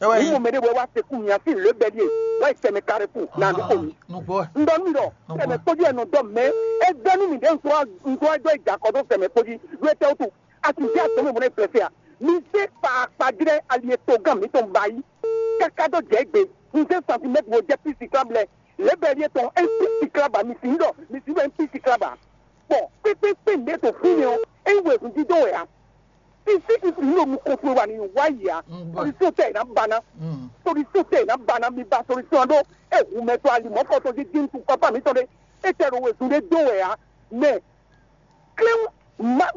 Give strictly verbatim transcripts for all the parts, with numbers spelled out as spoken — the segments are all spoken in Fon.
Ní mo mɛ ɖé wɛ wá se kú mi asi le bɛ ɖie wá yi sɛmɛ kare kú na nu ko mi. Nùgbọ́ ẹ̀. N ɖɔ nú mi ɖɔ Nùgbọ́. Sɛmɛ kpójú ɛ nɔ dɔ mɛ. E gbɛ nú mi ɖe ŋkɔ ŋkɔ ɛ dɔ yi jakɔ ɖo sɛmɛ kpójú ɖo etɛ wutu. A ti di atɔmɛ mɔ ne fɛfɛ a. Mi se kpakpa jrɛ ali etɔn gán mi tɔn ba yi. Kaka dɔ jɛ gbe. N se santimɛtiri wo jɛ pisi kan blɛ. Le bɛ ɖie tɔn e pisi kan ba mi si ɖɔ mi si ɖɔ e pisi kan ba. Bɔn kpékpékpé nǔɖé to fínɛ́ ɔ́, é nyí wezun dídó wɛ ǎ. Fífí fífí ní ɖo nukɔn towe wà ní wá yi ǎ. Solution tɛ è nǎ ba ná. Solution tɛ è nǎ ba ná. Mi ba solution ɖó. É hu mɛ tɔn ali mɔ̌kɔtɔn jí dín tu pápá mǐtɔn ɖé. É tɛ ɖo wezun ɖé dó wɛ ǎ. Mɛ klɛ́n má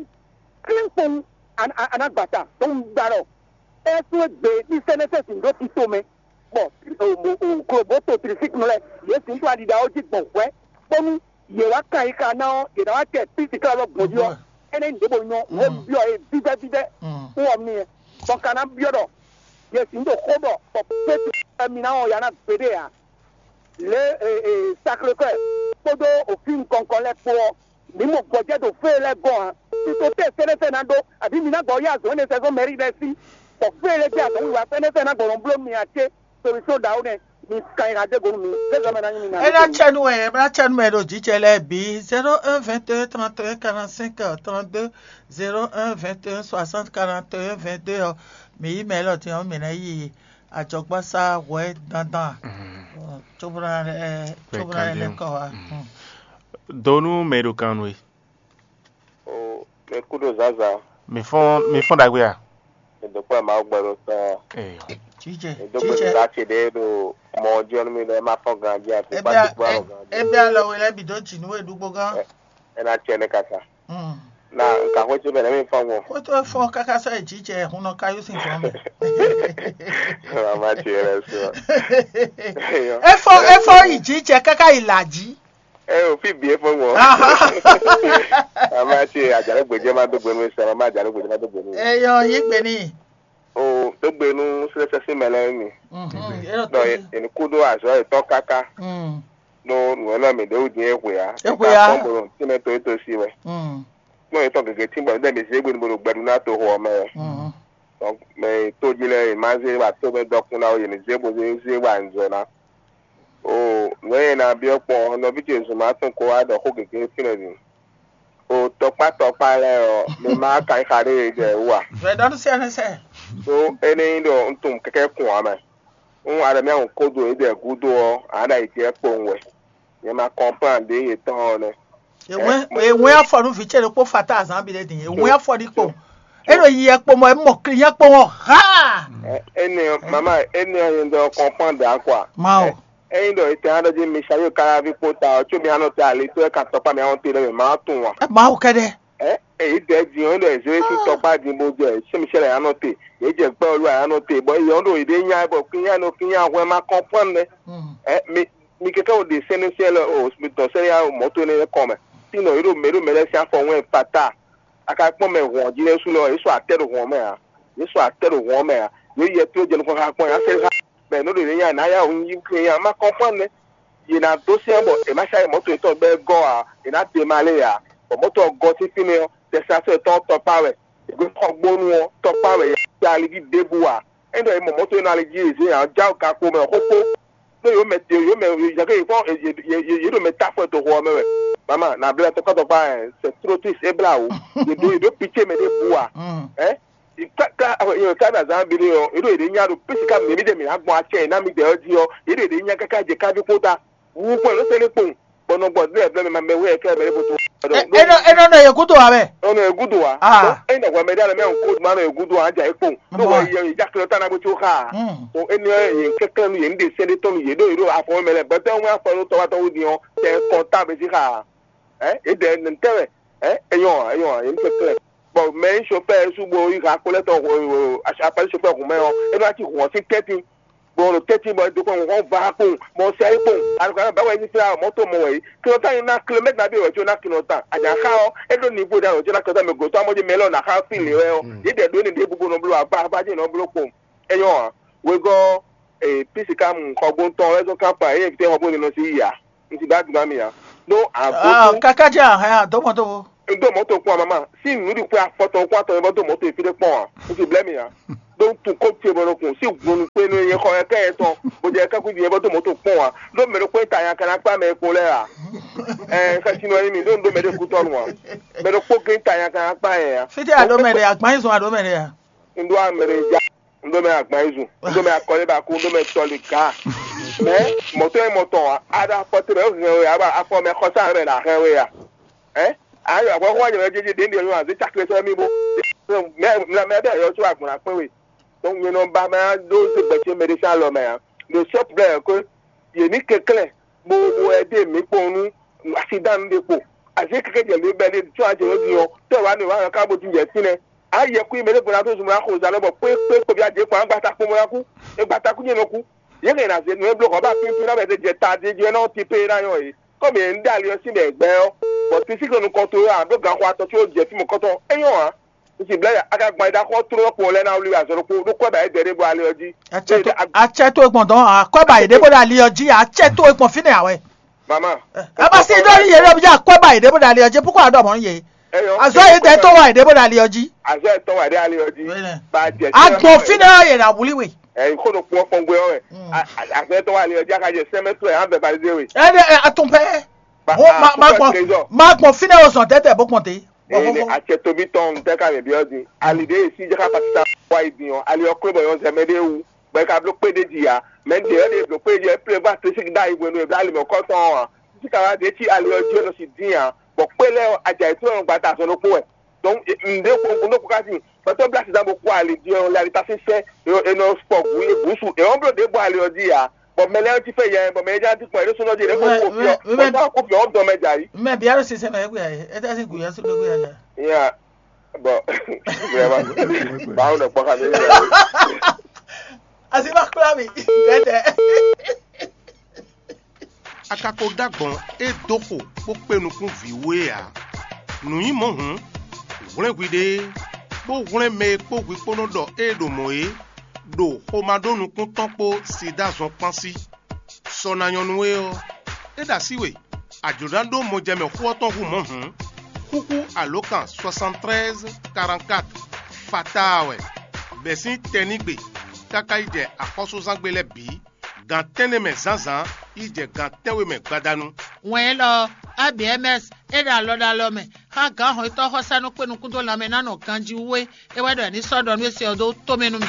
klɛ́n kpowun. Anagbata tó ń gba ɖɔ. É sún égbé ní sɛ́nɛsɛ́ sǐn ɖó tito mɛ. Bɔ kloboto trisiknu lɛ yě sǐn ɖo aɖiɖa ɔ́ jí gbɔn hwɛ̌, bónú yě wá kan yi xa ná ɔ́, yě ná wá kɛ písi ká lɔ gbɔn jí ɔ́, énɛ́ nyí ɖěbǔ nyɔ́ nǔ e byɔ́ yě vívɛ́vívɛ́ wú ɔ́ n'i. Bɔ ka ná byɔ́ ɖɔ yě sǐn ɖo xó ɖɔ bɔ Pétru mi ná wɔn ya ná gbeɖé ǎ. Lě e Saklekɔ́ɛ kpódó òfin nukɔn nukɔn lɛ́ɛ kpó ɔ́, mǐ mɔ gbɔjɛ́ ɖo fée lɛ́ɛ gɔ́n ǎ. Tito tɛ́ sɛ́nɛ́sɛ́ ná ɖó, abǐ mi ná gbɔ yá azɔ̌ énɛ́ sɛ́ zɔ́n mɛ̌ ɖi lɛ́ɛ sí, bɔ fée lɛ́ɛ jɛ azɔ̌ wiwa sɛ́nɛ́sɛ́ ná gbɔ nɔ bló mi ǎ cé? Solution ɖaxó nɛ́, mi kan nyi ɖagbe nú mi, zé zɔmɛ ná nyi mi ná. É ná cɛ nú wɛ, é ná cɛ nú mɛ e ɖo jǐ ce lɛ́ɛ bǐ. Zéro un vingt et un trente et un quarante-cinq trente-deux, zéro un vingt et un soixante quarante et un vingt-deux ɔ́, mǐ yí mɛ élɔ́ din ɔ́, mǐ ná yi ajɔgbásá hwɛ dandan, cóbó ná lɛ́ cóbó ná lɛ́ lɛ́ kɔ wá. Do nú mɛ e ɖo kan nú we. O mɛ kú ɖo zǎnzǎn. Mi fɔ́n mi fɔ́n ɖagbe a? È dǒ kplɔ́n Mawu gbɛ ɖo tɔn. Eyɔ. Jijɛ, È dó gbe jijɛ. Nǔɖá ce ɖé ɖo mɔ ɔ́ jí ɔ́ nú mi ɖɔ é má fɔ́n ganjí ati Ebia, kpáti kplɔ́n e, ganjí. Ebia lɔ we lɛ́ bǐ dó jǐ nú we ɖúgbó gán. Ɛ- É ná cɛ nɛ́ káká. Hmm. Na nka xwé ce mɛ nɛ́ mi fɔ́n gbɔn. Kótó e fɔ́n káká sɔ́ yi jijɛ hun nɔ ká yó sin zɔn mɛ. Mama ce lɛ sɔ. Eyɔ. E fɔ́n e fɔ́n yi jijɛ káká yi là jí. Ɛ o fí bǐ é fɔ́n gbɔn. Aha. Mama ce àjálù gbèjẹ́ má dó gbénu sɛ mama àjálù gbèjẹ́ má dó gbénu. Eyɔ yí gbé ní. O dó gbénu sɛsɛ sí mɛ lɛ mi. Mhm. Dɔ èmi kú dó azɔ ètò káká. Mm. No nù ɛ lɔ mi ɖe wú dín é hwe ya. É hwe ya. Kɔn bolo tí mɛ to é to sí wɛ. Mm. Kpɔn ètò gègé tí bɔ ní dɛ mi zé gbénu bolo gbɛdu ná to xɔ mɛ. Mm. Donc mɛ tó jí lɛ ma zé wa tó mɛ dɔkun ná o yě ní zé bo zé zé wa nzɔ ná. O nǔ e ná byɔ́ kpɔn nɔví ce zun má tún kó wá ɖɔ xó gěgé fínɛ́ din. O tɔkpá tɔkpá lɛ́ɛ ɔ́, mi má ka yi xa ɖé yě jɛ wú a? Vɛ̌ ɖɔ nú sɛ́nɛsɛ. Ɖó é ní nyí ɖɔ un tunwun kɛ́kɛ́ kun ǎ mɛ. Un Adamyáhun kó do yědɛɛ gúdo ɔ́, ǎ ɖo ayǐjínjɔ́n kpowun wɛ. Nyɛ ma kɔnplán ɖě yětɔn ɔ́ nɛ́. Èwɛn èwɛn afɔ nú vǐ ce ɖokpó fata azǎn bi ɖé din. Èwɛn afɔ ní kpo. É ɖo yi yɛ kpo mɔ é mɔ kli yɛ kpo mɔ ha. Ɛ- Énɛ́ ɔ́, mama, énɛ́ ɔ́ nyɛ ɖɔ kɔnplán ɖě akwa. Ma o. Ényí ɖɔ ètò aɖɔ jí mi sa yóò kára ví kpó ta ɔ́, có mi anɔ te ali tó ɛ kan tɔkpá mi anɔ te ɖɔ mi ma tunwun a? Ɛ ma o kɛɖɛ. Ɛ èyí dɛ din ɔ́ ɖɔ èzé sí tɔkpá din bó jɛ sɛ́ mi sɛ́ lɛ anɔ te, yě jɛ gbɛ olú anɔ te, bɔ yě ɔ́ ɖo yě ɖe nya bɔ kínya nɔ kínya hwɛ ma kɔnplán nɛ. Ɛ mi mi kɛkɛ wo ɖe sɛnɛ sɛn lɛ o mi dɔn sɛnɛ ya mɔto nɛ kɔn mɛ. Sinɔ yě ɖo mɛ ɖo mɛ lɛ sín afɔ wɛn pata. A ka kpɔn mɛ hɔn jí lɛ sú lɛ, yě sɔ atɛ ɖo hɔn mɛ ǎ. Yě sɔ atɛ ɖo hɔn mɛ ǎ. Yě yɛ tló jɛ nukɔn xa kpɔn yě asɛ xa. Mɛ nɔ ɖo yě nya nǎ ya wǔ yí kle nya má kɔnpɔn nɛ. Yě ná dó sɛn bɔ è má sa mɔto yětɔn bɛ gɔ́ ǎ, è nǎ de ma lé ǎ. Bɔ mɔto ɔ́ gɔ́ sín fínɛ́ ɔ́, tɛsɛnasɔ yětɔn ɔ́ tɔkpá wɛ. È gbé xɔ gbónú ɔ́, tɔkpá wɛ yě ká ali jí ɖěbǔ ǎ. Ényí ɖɔ è mɔ mɔto e nɔ ali jí yě zé ǎ, ɔ́, já ka kpo mɛ xóxó. Ɖó yǒ mɛ te yǒ mɛ yǎgé yě kpɔ́n yě ɖo mɛ ta fɔ to xɔ ɔ́ mɛ wɛ. Mama, na blɛ tɔkpá tɔkpá ɛ, c'est trop triste, é blá wǔ. Yě ɖo yě ɖo pitié mɛ ɖěbǔ ǎ. Ɛ? Ká ká ká na zán bi ɖé ɔ́, yě ɖo yě ɖe nya ɖo pesi ká mǐ mǐdɛɛ mǐ ná gbɔn acɛ yě ná mǐdɛɛ ɔ́ jí ɔ́, yě ɖo yě ɖe nya káká jɛ káví kpó ta. Wú kpɔ́n ló sɛ́ ɖé kpowun, bɔ nɔ gbɔ dlɛ́ blɛ́ mɛ ma mɛ wú yɛ kɛ́ mɛ ɖé bó tó. Ɛ- é nɔ é nɔ nɔ yě gúdo ǎ wɛ. Ɔnɔ egudu wa. Ah. Ɔ, ena hwɛ mɛ ɖe alɛ mɛ ŋko ma nɔ egudu wa ja ekpɔn. Ɖo Bɔ- wɛ yɛ yɛ ja kle ta na bo tso xa. Mm. O eni yɛ kɛkɛ nu yɛ nde sɛ de tɔnu yɛ do yɛ do afɔ mɛ lɛ bɛtɛ ŋu afɔ lo tɔwa tɔwu di ɔ tɛ kɔ ta bɛ si xa. Ɛ e dɛ ne tɛ wɛ. Ɛ enyɔ enyɔ yɛ kɛkɛ. Bɔn mɛ chauffeur su bo yi ha kpɔlɛ tɔ apɛli chauffeur kun mɛ ɔ enu ati hɔn si tɛti. Bɔn ɖo tɛ́ntin bɔ é dó kɔn hlɔ̌n va kpowun, bɔ un sɛ é kpowun. Alukóra bá wɛ ní flá mɔ̌ to mɔ wɛ é. Kinɔ tán nyí ná kilomɛ́tɛ́ nabí wɛ có ná kinɔ tán. Àjà xá ɔ́, é ɖó nivo ɖé alɔ có ná kinɔ tán mɛ gǒtɔ́ amɔ́ jí mɛ lɔ ná xá fí lě wɛ ɔ́. Yě dɛ ɖó énɛ́ ɖěbǔ bó nɔ bló agbá agbá jí nɔ bló kpowun. É nyɔ́ ǎ. Wegɔ́ ee písi ká mu xɔgbóntɔn wɛ zɔn kápá é invité xɔgbó nínɔ sí yí ǎ. Un ti bá dùn mí ǎ. Ɖó àgótú. Kaka jẹ́ àhán àdómọ́dómọ́. Ŋdó mɔ̌to kpɔ́n ǎ, mama. Sín nǔɖuɖu xwe afɔtɔn kpó atɔn e vɔ dó mɔ̌to e fí ɖé kpɔ́n ǎ. Un ti blɛ́ mi ǎ. ɖó tun kó ce bɔ ɖokun sí gun kpé nú nyɛ xɔ ɛkɛ yɛ tɔn bó jɛ kɛkú din bɔ dó mɔtò kpɔn wa ɖó mɛ ɖokpó ta nya kana kpá mɛ kpó lɛ a ɛ xɛsi nɔ mi ɖó ɖó mɛ ɖe kutɔnu wa mɛ ɖokpó gé ta nya kana kpá yɛ ya. Fítɛ́ a ɖó mɛ ɖe, agbanyizɔn a ɖó mɛ ɖe a? N ɖó amɛ ɖe ja, n ɖó mɛ agbanyizun, n ɖó mɛ akɔlébakú, n ɖó mɛ tɔlika. Mɛ mɔtɔ e mɔtɔn a ɖo afɔ te mɛ hɛn we a ɖo afɔ mɛ xɔsa mɛ na hɛn we a? Ɛ ayɔ agbɔxɔ wa nyɛ mɛ jɛjɛ ɖe ɖe yɔ azé cakle sɔ mi bo mɛ mɛ bɛ yɔ tso agbɔn akpɛ we. Donc nyɛ nɔ ba mɛ ɖó zé gbɛtɛ mɛ ɖe sá lɔ mɛ a. Le seul problème que yě ní kɛnklɛ́n bó bó ɛdé mǐ kpɔn nú asidán ɖé kpo. Azé kɛkɛ jɛ lě bɛ ɖé tsɔ ajɛ yɔ din ɔ tɛ wa ne wa ka bo din jɛ fínɛ́. Ayɛ kú mɛ ɖé gbɔn tó zumɔ axo zan bɔ kpé kpé kpé bia dé kpɔn agbata kpɔn bɔ kú. Egbata kú nyɛ nɔ kú. Yě kɛ na zé nǔ e bló xɔ bá pínpín na bɛ jɛ ta dé jɛ nɔ ti pé na yɔ yě. Kɔmi yě ń dali ɔ sí mɛ gbɛ ɔ. Bɔ tisi kɛ nukɔn to yɔ a ɖó gan xɔ atɔ tso jɛ fí mɔ kɔtɔ. Enyɔ a. Nsi blɛ ya aka gban da xɔ tró kpɔn lɛ na wuli azɔ ɖokpo ɖó kɔ ba yɛ dɛ ɖé bɔ ali ɔ jí. Atsɛ to gbɔn dɔn akɔba yi ɖe bó ɖo ali ɔ jí atsɛ to gbɔn fínɛ awɛ. Mama. Aba si ɖo yi yɛ ɖo bí akɔba yi ɖe bó ɖo ali ɔ jí púpọ̀ àdó mɔ yé. Azɔ yi dɛ tó wa yi ɖe bó ɖo ali ɔ jí. Azɔ yi tɔ wa ɖe ali ɔ jí. Ba jɛ agbɔn fínɛ yɛ na wuli we. Ɛyi kó ɖo kpɔn kpɔn gbé ɔwɛ. Azɔ yi tɔ wa ali ɔ jí aka jɛ sɛmɛ tó yɛ an bɛ balide we. Ɛ ɛ atun pɛ. Magbɔn magbɔn fínɛ o zɔn tɛtɛ bó kpɔn te. Ene atsɛ tobi tɔn ŋutɛ ka mɛ biɔ din ali ɖe si jaka patita wa yi din ɔ ali ɔ klo bɔ yɔ zɛ mɛ ɖe wu bɔ e ka bló kpé ɖé ji ya mɛ ɖe ɔ ɖe bló kpé ɖé ji ɔ e plé va te siki ɖe ayi hwenu e bló ali mɛ kɔtɔn ɔ a sika wa ɖe ci ali ɔ ji ɔ nɔ si din a bɔ kpé lɛ ɔ adza yi tó nɔ gba ta azɔn ɖokpó wɛ donc ŋɖe ko ŋɖe ko ka sin pɛtɛ bla sisan bo kó ali din ɔ le ali ta sísɛ e nɔ fɔ gu e gu su e ɔ bló ɖe bɔ ali ɔ ji ya bɔ mɛ lɛ ɔ ti fɛ yɛ bɔ mɛ yɛ ja ti kpɔ e ɖo sunɔ ji e ko ko fiɔ bɔ ta ko fiɔ ɔ dɔn mɛ ja yi. Mɛ bia ɖo sisɛ mɛ egbe ayi eta si gu yɛ so ɖo gbe ayi. Ya. Bon, vraiment, bawo nɔ kpɔ xa mi. Asi ma kpla mi tɛtɛ. A ka ko ɖó agbɔn e dó xo bó kpé nukún vǐ wú é ǎ. Nǔ nyí mɔ̌ hǔn, hwlɛ́n hwiɖée, bó hwlɛ́n mɛ e kpó hwi kpó nɔ ɖɔ ée ɖo mɔ̌ é, ɖo xomá ɖó nukún tɔn kpó sida zɔn kpán sí. Sɔ ná nyɔ́ nú we ɔ́, é ɖo así we, a jlǒ ná ɖó mɔjɛmɛ xó ɔ́ tɔn hú mɔ̌ hǔn, xúxú alǒkan soixante-treize quarante-quatre fataa wɛ, bɛ̌ sín tɛnígbe káká yi jɛ axɔ́súzángbe lɛ́ɛ bǐ, gan tɛ́nnɛ mɛ zǎnzǎn yi jɛ gan tɛ́nwe mɛ gbadanu. Wɛn élɔ́ ɔ́, A B M S é ɖo alɔ ɖo alɔ mɛ xá gǎn hɔnnyitɔ́ xɔsánú kpé nukún dó lanmɛ ná nɔ ganjí wú é, é wɛ ɖɔ è ní sɔ́ ɖɔ nú é se ɔ́ dó tomɛ nú mì.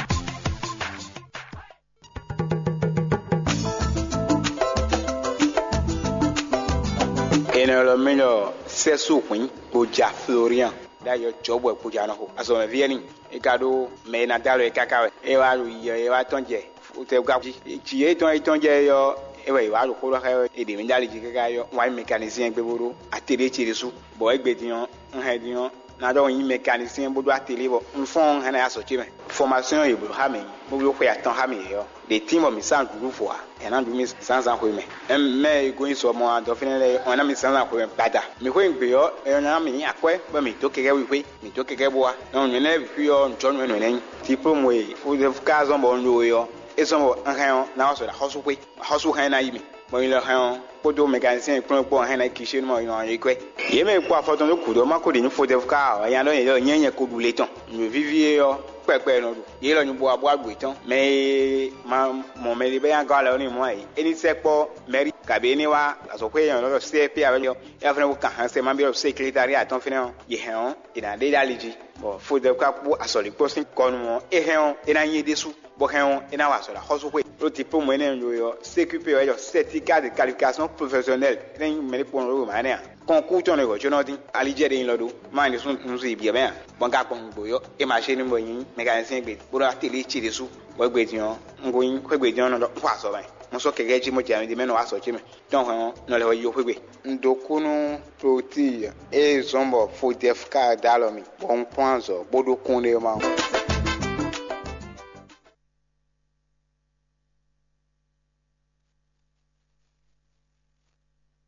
Enɛ lɔ mɛ ɖɔ sɛ́sú hwǐn kpo ja Florian ɖ'ayǐ ɔ́ jɔ̌bǔ wɛ kpo ja nɔ xo. Azɔ̌mɛví énɛ́ e ka ɖó mɛ e ná dó alɔ é káká wɛ. É wá ɖo yiyɔ é wá tɔ́n jɛ fotɛ́wúká jí. Jǐ e tɔn e tɔ́n jɛ é ɔ́, é wɛ è wá ɖo xó ɖɔ xá ɛ é ɖě mɛ ɖó ali jí káká é ɔ́, wǎn yi mɛkanisíɛn gbe bó ɖó atelié ce ɖésú. Bɔ é gbe din ɔ́, un hɛn din ɔ́, ná ɖɔ un nyí mɛkanisíɛn bó ɖó atelié bɔ un fɔ́n ɔ́, un hɛn ná yi azɔ̌ ce mɛ. Fɔmasyɔn e è blǒ xá mɛ bó bló xwe atɔn xá mǐ é ɔ́, ɖě tín bɔ mǐ sa nǔɖuɖu vo ǎ, è nǎ ɖu mì zǎnzǎn xwemɛ. Mɛ e gosín sɔ mɔ adɔ fínɛ́ lɛ́ɛ ɔ́ ná mì zǎnzǎn xwemɛ gbada. Mǐ xweyǐgbe ɔ́, è nɔ ná mǐ nyi akwɛ́ bɔ mǐ dó kɛkɛ́ wíxwé, mǐ dó kɛkɛ́ bó wá. Nɔ nyɔ̌nu lɛ́ɛ bǐ xwí ɔ́, un jɔ́ nǔ e nǔ énɛ́ nyí. Diplôme e Joseph ka zɔ́n bɔ un ɖó é ɔ́, é zɔ́n bɔ un hɛn ɔ́, ná wá sɔ ɖo axɔ́súxwé. Axɔ́sú hɛn ná yi mì, bɔ un lɔ hɛn ɔ́, kpódó mɛkanisɛn e kplɔ́n kpó ɔ́ hɛn ná yi Kinshénu mɔ è nɔ yi kwɛ́. Yě mɛ e kpó afɔ tɔn dó gǔdo ɔ́ ma ko ɖe nú Fodɛfu ká ǎ, nya ɖɔ nyɛ ɖɔ nyɛ nyɛ ko ɖu le tɔn. Nǔ e víví é ɔ́, kpɛkpɛ è nɔ ɖu. Yě lɔ nyu bo wá bó wá ɖu yětɔn. Mɛ e ma mɔ mɛɖé bɔ é nya gɔ́ alɔ n'i mɔ̌ ǎ é, é ní sɛkpɔ́ mɛ̌ri, kabǐ é ní wá azɔ̌xwé e è nɔ ɖɔ C R P ǎ wɛ ɔ́, é wá fɛ́nɛ ko kan hɛn sɛ ma byɔ́ seklétariá tɔn fínɛ́ ɔ́, yě hɛn ɔ́, è nǎ ɖe ɖó ali jí. Bɔ Fodɛfu ka kpó azɔ̌líkpɔ́ sín kɔnu ɔ́, é hɛn ɔ́, é ná nyí é ɖésú, bɔ hɛn ɔ́, é ná wa azɔ̌ ɖo axɔ́súxwé. Ɖó diplôme énɛ́ e un ɖó é ɔ́, C Q P wɛ é ɖɔ certificat de qualification professionnelle, é ná nyí mɛɖé kpɔ́n ɖó mǎ énɛ́ ǎ. Kɔnkútɔn e hwɛ̌ có nɔ dín, ali jɛ ɖe nyi lɔ ɖó, má nyí ɖésú un zun yi byɔ̌ mɛ ǎ. Bɔ un ka gbɔn nǔgbó yɔ, é ma zé nú bɔ nyí mécanicien gbe, bó ɖó atelier ce ɖésú. Bɔ égbé din ɔ́, un ko nyí xwé gbe din ɔ́ nɔ ɖɔ un xɔ azɔ̌ mɛ. Un sɔ́ kɛkɛ́ jí mɔ jɛ mi ɖé mɛ nɔ wá azɔ̌ ce mɛ. Tɔn hɛn ɔ́, nɔ lɛ́ wɛ yi xwé gbe. Un dó kú nú Klotile e zɔ́n bɔ Fodɛfu ka dó alɔ mì, bɔ un kplɔ́n azɔ̌ bó ɖó kúnɖéma ɔ́.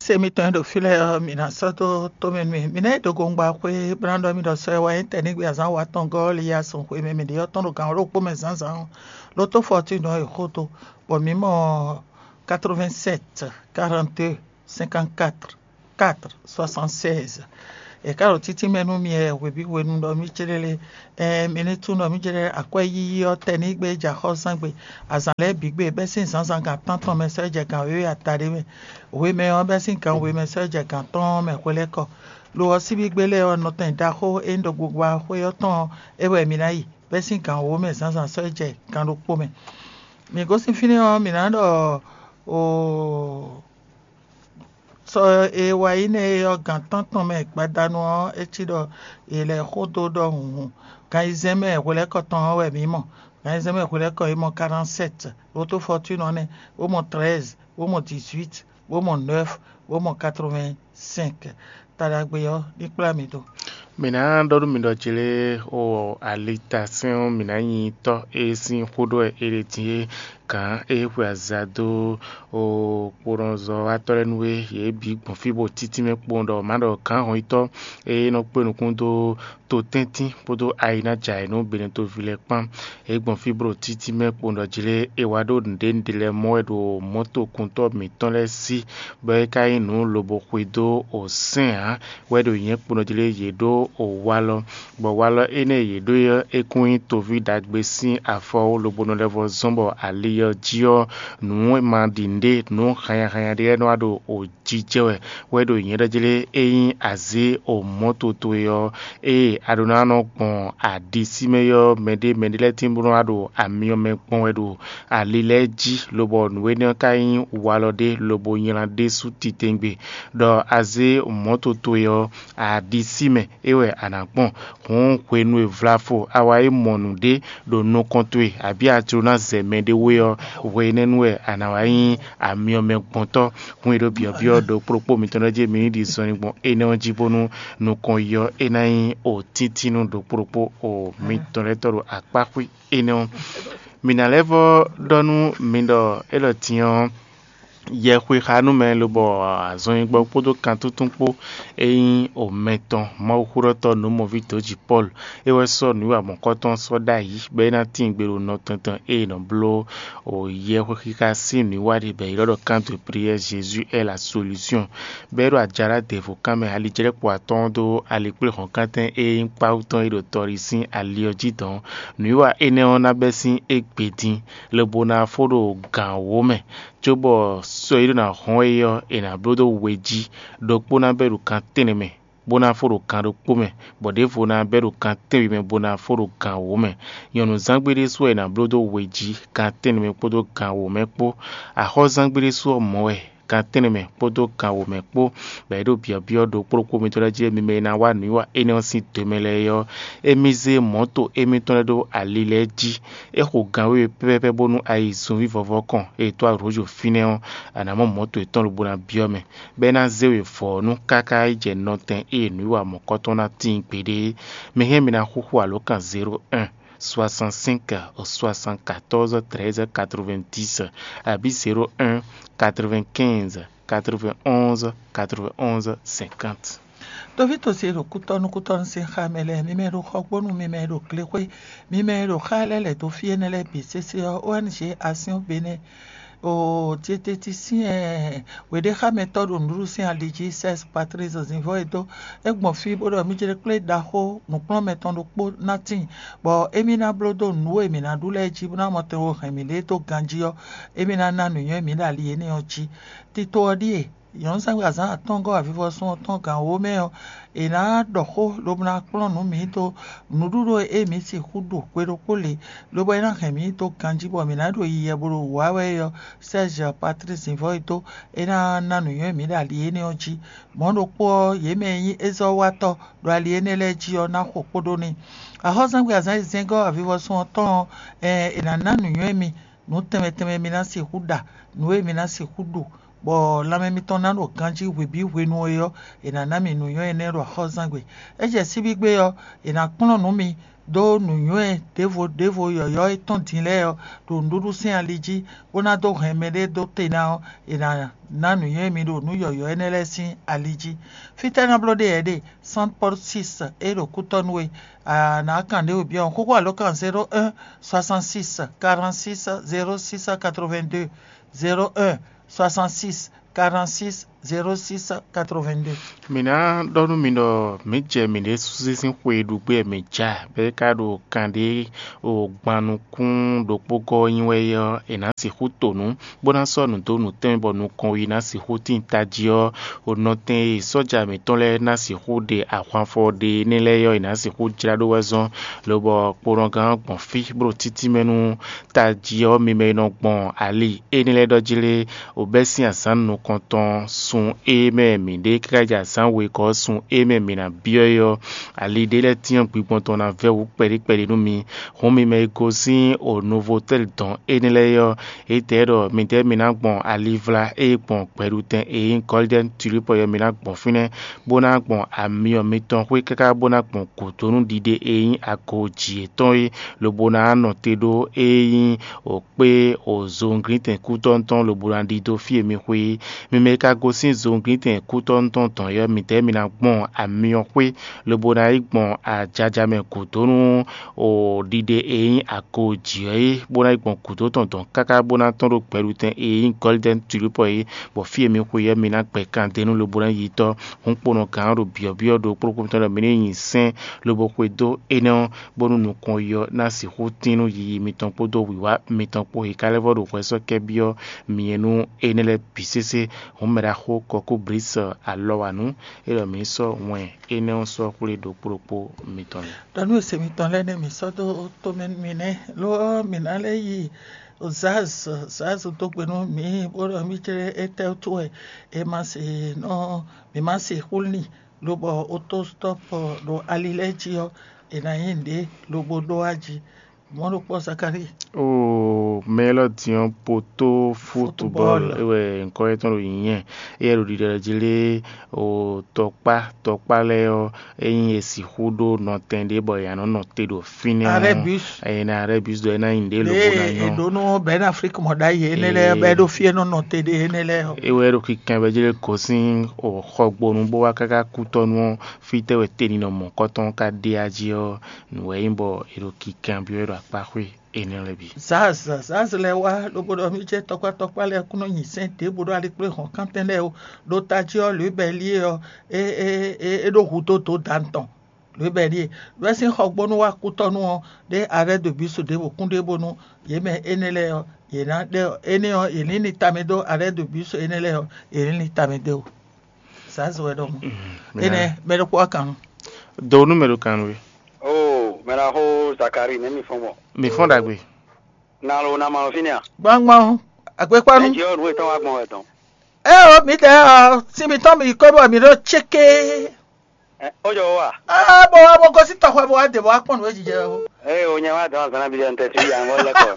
Se mitɔn e ɖo fí lɛ́ɛ ɔ́, mǐ ná sɔ́ dó tómɛ nú mì. Mǐ ná yi dogongba xwé bó ná ɖɔ mì ɖɔ sɔ e wá nyí tɛ̌nigbe azǎn watɔngɔ́ ɔ́ li yi azɔn xwe mɛ mǐ ɖe ɔ́ tɔn ɖo gan wǒ ɖokpó mɛ zǎnzǎn ɔ́, lotofɔtinu ɔ́ è xo dó, bɔ mǐ mɔ quatre-vingt-sept quarante-deux cinquante-quatre quatre soixante-seize. È ká ɖo títí mɛ nú mi wɛ hwebǐ hwenu ɖɔ mì céɖélé. Ɛɛ, mi ní tunwun ɖɔ mì céɖélé akwɛ́ yíyí ɔ́ tɛnígbe jɛ axɔ́súzángbe, azǎn lɛ́ɛ bǐ gbe, bɛ́ sín zǎnzǎn gan tántɔn mɛ sɔ́ yi jɛ gan wěwe adaɖé mɛ. Hwemɛ ɔ́, bɛ́ sín gan we mɛ sɔ́ yi jɛ gan atɔ́ɔ́n mɛ hwelɛ́kɔ. Lo ɔ́, síbígbe lɛ́ɛ ɔ́, nɔtɛn ɖaxó e nyí ɖɔgbugba xwé ɔ́ tɔn ɔ́, é wɛ mi ná yi, bɛ́ sín gan wǒ mɛ zǎnzǎn sɔ́ yi jɛ gan ɖokpó mɛ. Mǐ gosín fínɛ́ ɔ́, mǐ ná ɖɔ oo, sɔ e wa yi nɛ́ é ɔ́, gan tántɔn mɛ gbadanu ɔ́, é cí ɖɔ è lɛ́ xó dó ɖɔhun hǔn. Gan ayizɛ́n mɛ hwelɛ́kɔ tɔn ɔ́ wɛ mǐ mɔ. Gan ayizɛ́n mɛ hwelɛ́kɔ é mɔ quarante-sept, lótó Fortune ɔ́ nɛ́, bó mɔ treize, bó mɔ dix-huit, bó mɔ neuf, bó mɔ quatre-vingt-cinq. Ta ɖagbe ɔ́ ní kplá mi dó. Mǐ ná ɖɔ nú mi ɖɔ jlé o alitasɛ́n ɔ́, mǐ ná nyi tɔ́ e sín xó ɖɔ wɛ è ɖe din é. Gǎn e xwe aza dó o kponɔzɔ́watɔ́ lɛ́ɛ nú é, yě bǐ gbɔn fí bó títí mɛ kpowun ɖɔ má ɖɔ gǎn hɔnyitɔ́ e nɔ kpé nukún dó totɛ́ntín kpódó ayi ná jɛ ayǐ nú Benetoví lɛ́ɛ kpán. É gbɔn fí bó ɖo títí mɛ kpowun ɖɔ jlé è wá ɖó nǔɖé nǔɖé lɛ́ɛ mɔ wɛ ɖo mɔ̌tokuntɔ́ mǐtɔn lɛ́ɛ sí, bɔ é ka nyí nǔ lobo xwedó o sɛ́n ǎ, wɛ ɖo nyɛ̌ kponɔ jí lé yě ɖó o walɔ, bɔ walɔ énɛ́ e yě ɖó é ɔ́, é kún nyí toví ɖagbe sín afɔ wú lobo nɔ lɛ́ vɔ́ zɔ́n bɔ ali ɔ́ jí ɔ́, nǔ e ma ɖi nǔɖé, nǔ hannyahannya ɖé lɛ́ɛ nɔ wá ɖo o jijɛ wɛ, wɛ ɖo nyɛ̌ ɖɔ jí lé é nyí azě o mɔ̌ towe ɔ́, ée a ɖó ná nɔ gbɔn aɖisí mɛ ɔ́, mɛɖé mɛɖé lɛ́ɛ tín bó nɔ́ wá ɖo amyɔ mɛ gbɔn wɛ ɖo ali lɛ́ɛ jí, lobɔ nǔ énɛ́ ɔ́ ka nyí walɔ ɖé lobo nylá ɖésú titewungbe, ɖɔ a zé mɔ̌ towe ɔ́, aɖisí mɛ é wɛ a nǎ gbɔn. Hǔn hwenu e vlafo a wá yi mɔ nǔɖé ɖo nukɔn towe, abǐ a jló ná zɛ mɛɖé we ɔ́, hwe énɛ́ nu wɛ a nǎ wá nyí amyɔ mɛ gbɔntɔ́. Hǔn e ɖo byɔ̌byɔ́ ɖokpó ɖokpó mitɔn lɛ́ɛ jí mi ní ɖi zɔnlin gbɔn énɛ́ ɔ́ jí, bónú nukɔn yi ɔ́, é ná nyí o tíntín nú ɖokpó ɖokpó o mitɔn lɛ́ɛ tɔn ɖo akpáxwé énɛ́ ɔ́. Mǐ ná lɛ́ vɔ́ ɖɔ nú mi ɖɔ élɔ́ din ɔ́, yɛxwexanúmɛ lobɔ azɔnyigbɔ kpódó kantuntun kpó e nyí omɛ tɔn Mawuxóɖɔtɔ́ nǔmɔví dǒjǐ Pɔ́lu, é wɛ sɔ́ nǔwiwa mɔ̌kɔtɔn sɔ́ ɖ'ayǐ, bɔ é ná tíin gbe ɖo nɔ tɔn tɔn e è nɔ bló yɛxwexixa sín nǔwiwa ɖe bɔ è ylɔ́ ɖɔ Canto de prière Jésus est la solution, bɔ é ɖo ajalá devo kan mɛ alijlɛ́kpo atɔ́ɔ́n dó alikpléhɔ̌nkántɛn e nyí kpáwú tɔn e ɖo tɔɖi sín ali ɔ́ jí dɔ̌n. Nǔwiwa énɛ́ ɔ́ ná bɛ́ sín égbé dín, lobo ná fó ɖo gǎn wǒ mɛ, cóbɔ sɔ e ɖó ná hɔn é ɔ́, è nǎ bló dó we jí; ɖokpó ná bɛ́ ɖo kan tɛ́nnɛ mɛ, bó ná fó ɖo kan ɖokpó mɛ, bɔ ɖěvo ná bɛ́ ɖo kan tɛ́nwe mɛ, bó ná fó ɖo gǎn wǒ mɛ. Nyɔ̌nuzángbe ɖésú wɛ è nǎ bló dó we jí, kan tɛ́nnɛ mɛ kpódó gǎn wǒ mɛ kpó. Axɔ́zángbe ɖésú ɔ́ mɔ̌ wɛ, kan tɛ́nnɛ mɛ kpódó kan wǒ mɛ kpó, bɔ é ɖo byɔ̌byɔ́ ɖokpó ɖokpó mitɔn lɛ́ɛ jí, mi mɛ e ná wa nǔwiwa énɛ́ ɔ́ sín do mɛ lɛ́ɛ é ɔ́, émí zé mɔ̌to émítɔn lɛ́ɛ ɖó ali lɛ́ɛ jí. É xo gan wěwe pɛ́pɛ́pɛ́ bónú a yi zunví vɔvɔ kɔn e è dó arǒjo fínɛ́ ɔ́, a nǎ mɔ mɔ̌to yětɔn lobo ná byɔ́ mɛ, bɔ é ná zé we vɔ̌ ɔ́ nú káká yi jɛ nɔtɛn e nǔwiwa mɔ̌kɔtɔn ná tíin gbeɖé é. Mi hɛn mi ná xúxú alǒkan zéro un, soixante-cinq, soixante-quatorze, treize, quatre-vingt-dix, abǐ zéro un, quatre-vingt-quinze, quatre-vingt-onze, quatre-vingt-onze, cinquante. Tovítɔ ce ɖo kútɔ́nú kútɔ́nú sín xá mɛ lɛ́ɛ, mi mɛ e ɖo xɔgbónu, mi mɛ e ɖo glexwé, mi mɛ e ɖo xá lɛ́ɛ lɛ̌ dó fí énɛ́ lɛ́ɛ bǐ sésé ɔ́, O N G Action Bénin, o dietetisyɛn wěɖéxámɛtɔ́ ɖo nǔɖuɖu sín ali jí, Sɛ́s Patlísi Zinvɔ́ e dó é gbɔn fí bó ɖɔ mì jlé kplé ɖaxó nǔkplɔ́nmɛ tɔn ɖokpó ná tíin, bɔ émí ná bló dó nǔ e mǐ ná ɖu lɛ́ɛ jí bó ná mɔ tɛnxo hɛn mǐɖée dó ganjí ɔ́, émí ná ná nǔnywɛ́ mǐ ɖo ali énɛ́ ɔ́ jí. Tito ɔ́ ɖíe: nyɔ̌nu zán azǎn atɔ́ɔ́ngɔ́ avivɔsún ɔ́ tɔn gǎn wǒ mɛ ɔ́, è nǎ ɖɔ xó lobo ná kplɔ́n nǔ mǐ dó nǔɖuɖu e mǐ sixú ɖu hwe ɖokpó lě, lobo é ná hɛn mǐ dó ganjí bɔ mǐ ná ɖo yiyɛ bo ɖo wǔ wa wɛ é ɔ́, Sɛ́zɛ Patlísi Zinvɔ́ e dó é ná ná nǔnywɛ́ mǐ ɖo ali énɛ́ ɔ́ jí. Mɔ̌ ɖokpó ɔ́, yě mɛ e nyí ézɔ́watɔ́ ɖo ali énɛ́ lɛ́ɛ jí ɔ́ ná xo kpódó n'i. Axɔ́súzángbe azǎn e zɛ́ngɔ́ avivɔsún ɔ́ tɔn ɔ́, è nǎ ná nǔnywɛ́ mi nǔ tɛnmɛ tɛnmɛ mi ná sixú ɖa, nǔ e mi ná sixú ɖu, bɔ lanmɛ mitɔn ná ɖo ganjí hwebǐ hwenu e ɔ́, è nǎ ná mi nǔnywɛ́ énɛ́ ɖo axɔ́súzángbe. É jɛ síbígbe ɔ́, è nǎ kplɔ́n nǔ mi dó nǔnywɛ́ ɖěvo ɖěvo yɔ̌yɔ́ e tɔ́n din lɛ́ɛ ɔ́ ɖo nǔɖuɖu sín ali jí, bó ná dó hɛn mɛɖé dó te ná ɔ́, è nǎ ná nǔnywɛ́ mi ɖo nǔ yɔ̌yɔ́ énɛ́ lɛ́ɛ sín ali jí. Fítɛ́ ná bló ɖe yɛ ɖe? Saint Paul six e ɖo kútɔ́ nú we. A nǎ kan ɖě we byɔ́ xóxó alǒkan zéro un, soixante-six, quarante-six, zéro six, quatre-vingt-deux, zéro un, soixante-six quarante-six zéro six quatre-vingt-deux. Mǐ ná ɖɔ nú mi ɖɔ mǐ jɛ mǐɖée súsí sín xwe e ɖu gbé wɛ mǐ ja, bɔ é ka ɖo kanɖé o gban nukún ɖokpó gɔ́ nyi wɛ é ɔ́, è nǎ sixú to nǔ, bó ná sɔ́ nǔ dó nǔ tɛnmɛ bɔ nukɔn ɔ́ yi ná sixú tíin tají ɔ́, o nɔtɛn e sɔ́ja mǐtɔn lɛ́ɛ ná sixú ɖe ahwanfɔ ɖe énɛ́ lɛ́ɛ ɔ́, è nǎ sixú jlá ɖó wɛ zɔ́n, lobɔ kponɔgán ɔ́ gbɔn fí bó ɖo títí mɛ nú tají ɔ́, mi mɛ e nɔ gbɔn ali énɛ́ lɛ́ɛ ɖɔ jí lé, o bɛ́ sín azǎn nukɔntɔn sun e mɛ mǐ ɖe káká jɛ azǎn wegɔ́ ɔ́ sun e mɛ mǐ ná byɔ́ é ɔ́, ali ɖé lɛ́ɛ tyɔ́n gbigbɔn tɔn ná vɛ́ wǔ kpɛɖé kpɛɖé nú mi. Hǔn mi mɛ e gosín o Novotɛ́li dɔn énɛ́ lɛ́ɛ é ɔ́, étɛ́ ɖɔ midɛɛ mi ná gbɔn alivlá e gbɔn gbɛɖutɛn e nyí Gɔ́lidɛ́ni Tulípɔ ɔ́, mi ná gbɔn fínɛ́, bó ná gbɔn amyɔ mitɔn xwé káká bó ná gbɔn gǔdo nú ɖiɖe e nyí ago jǐ yětɔn é, lobo ná nɔ te ɖó e nyí o kpé o zowunglítɛn kútɔ́ tɔn lobo ná ɖidó fí e mi xwe é. Mi mɛ e ka gosín zowunglítɛn kútɔ́ tɔn dɔn é ɔ́, midɛɛ mi ná gbɔn amyɔ xwé, lobo ná yi gbɔn ajaja mɛ gǔdo nú o ɖiɖe e nyí ago jǐ ɔ́ é, bó ná yi gbɔn gǔdo tɔn dɔn káká bó ná tɔ́n ɖo gbɛɖutɛn e nyí Gɔ́lidɛ́ni Tulípɔ é, bɔ fí e mi xwe ɔ́, mi ná gbɛ kan d'é nú lobo ná yi tɔ́. Hǔnkponɔgán ɔ́ ɖo byɔ̌byɔ́ ɖokpó ɖokpó mitɔn ɖɔ mi ní nyi sɛ́n lobo xwedó énɛ́ ɔ́, bónú nukɔn yi ɔ́ ná sixú tín nú yiyi mitɔn kpódó wǐwá mitɔn kpó. È ka lɛ́ vɔ́ ɖo hwɛ sɔ́ kɛ́ byɔ́ mi nu énɛ́ lɛ́ɛ bǐ sésé. Hǔn mɛ ɖaxó Kɔkúblísɔ alɔwanú é ɖɔ mǐ ní sɔ́ wɛn énɛ́ ɔ́ sɔ́ xwlé ɖokpó ɖokpó mitɔn lɛ́ɛ. Ɖɔ nú ese mitɔn lɛ́ɛ nɛ́ mǐ sɔ́ dó tomɛ nú mi nɛ́, lo ɔ́, mǐ ná lɛ́ yi Zaz, Zaz dó gbe nú mǐ, bó ɖɔ mǐ jlɛ́ étɛ́ wútu wɛ è ma se nɔ, mǐ ma se xwlú n'i, lobɔ otostɔ́p ɖo ali lɛ́ɛ jí ɔ́, è nǎ nyi nǔɖé lobo ɖó wá jí. Mɔ̌ ɖokpó Zakalíi. Oo, mɛ élɔ́ din ɔ́, poto futubɔl é wɛ nyǐkɔ yětɔn ɖo nyǐnyɛ́. Éyɛ́ ɖo ɖiɖɔ jí lé, o tɔkpá tɔkpá lɛ́ɛ ɔ́, ényí è sixú ɖó nɔtɛn ɖé bɔ è nǎ nɔ nɔ te ɖo fínɛ́ ɔ́, Arɛ́bus. Eye ná Arɛ́bus ɖɔ é ná nyi nǔɖé lobo ná nyɔ́. È ɖǒ nú Bɛ̌n Aflík mɔ ɖ'ayǐ énɛ́ lɛ́ɛ, bɔ é ɖo fí e nɔ nɔ te ɖe énɛ́ lɛ́ɛ ɔ́. É wɛ é ɖo kikan bɔ é jlé gosín xɔgbonu bó wá káká kútɔ́nú ɔ́, fítɛ́ wɛ teninɔ mɔ̌kɔtɔn ka ɖe ají ɔ́, nǔ wɛ nyí bɔ è ɖo kikan byɔ́ é ɖo akpá xwé énɛ́ lɛ́ɛ bǐ. Zaz, Zaz lɛ́ɛ wá lobo ɖɔ mì jɛ tɔkpá tɔkpá lɛ́ɛ kún nɔ nyi sɛ́n ɖěbǔ ɖo alikpléhɔ̌nkántɛn lɛ́ɛ ó. Ɖo tají ɔ́, Lǔbɛ́li ɔ́, é é é é ɖó hudó dó dan tɔn. Lǔbɛ́li e ɖó ɛ sín xɔgbónú wá kútɔ́nú ɔ́, ɖé Arɛ́dobǐsu ɖěvo kún ɖe bónú yě mɛ énɛ́ lɛ́ɛ ɔ́, yě ná ɖɛ énɛ́ ɔ́, yě ní ní tamɛ dó Arɛ́dobǐsu énɛ́ lɛ́ɛ ɔ́, yě ní ní tamɛ dó. Zaz wɛ ɖɔ mɔ̌. Énɛ́ mɛ ɖokpó wá kan nú. Do nú mɛ ɖo kan nú we. Oo, mɛ ɖaxó Zakari, nɛ̌ mi fɔ́n gbɔn? Mi fɔ́n ɖagbe. Na lo na ma lo fínɛ́ a? Gbangban o, agbekpanu. Ɛ jɛ ɔ́, nǔ e tɔn wá gbɔn wɛ tɔn. Ɛ o, mi tɛ ɔ, si mi tɔn mi ko bɔ mi ɖo tséké. Ɛ, ó jɔ wá. Ɛ, bɔ wá bɔ gosí tɔxɔ bɔ wá dé bɔ wá kpɔn nǔ e jijɛ o. Ɛ o, nyɛ wá dɔn azan bi dɔn tɛ fi ya ngɔ lɛ kɔ.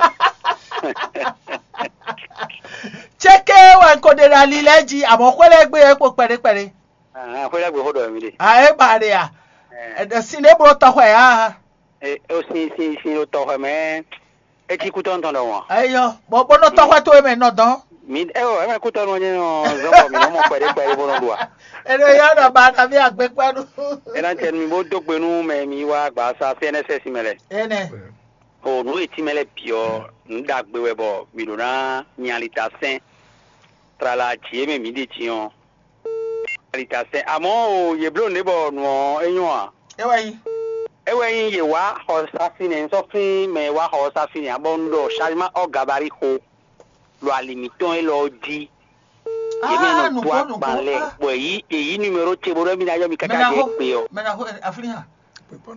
Tséké wɛ n ko ɖe ɖe ali lɛ jí, àmọ́ xwé lɛ gbé yɛ kpo kpɛɖé kpɛɖé. Ah, xwé lɛ gbé xó ɖɔ mi ɖe. A é ba ɖe a? Ɛ. Ɛdɛ sin ɖé blo tɔxɔ ya. E o sin sin sin ɖo tɔxɔ mɛ. Etí kútɔ́ tɔn ɖɔhun a? Eyɔ, bɔ bó nɔ tɔxɔ towe mɛ nɔ dɔn. Mi ɛ o, ɛmɛ kútɔ́ nɔ nyɛ nɔ zɔn bɔ mi nɔ mɔ kpɛɖé kpɛɖé bó nɔ ɖu a? Eno ya nɔ ba na mi agbekpanu. Ena cɛ mi bó dó gbe nú mɛ mi wá gba sa C N S S mɛ lɛ. Ene. O nǔ e tínmɛ lɛ́ɛ bǐ ɔ́, nǔ ɖagbe wɛ bɔ mǐ ɖó ná nyi ali ta sɛn. Tlala jǐ e mɛ mǐ ɖe din ɔ́, ali ta sɛn. Amɔ̌ o, yě bló nǔɖé bɔ nǔ ɔ́ é nyɔ́ ǎ. É wɛ nyí. É wɛ nyí yě wá xɔ ɔ́ sá fínɛ́, un sɔ́ flín mɛ e wá xɔ ɔ́ sá fínɛ́ ǎ, bɔ un ɖɔ Salima ɔ́ gabarí xo ɖo ali mǐtɔn élɔ́ ɔ́ jí. Yě mɛ nɔ dó agban lɛ, bɔ èyí èyí numéro ce bó ɖɔ mí ná yɔ mi káká jɛ gbe ɔ́. Mɛ na xo aflín hàn.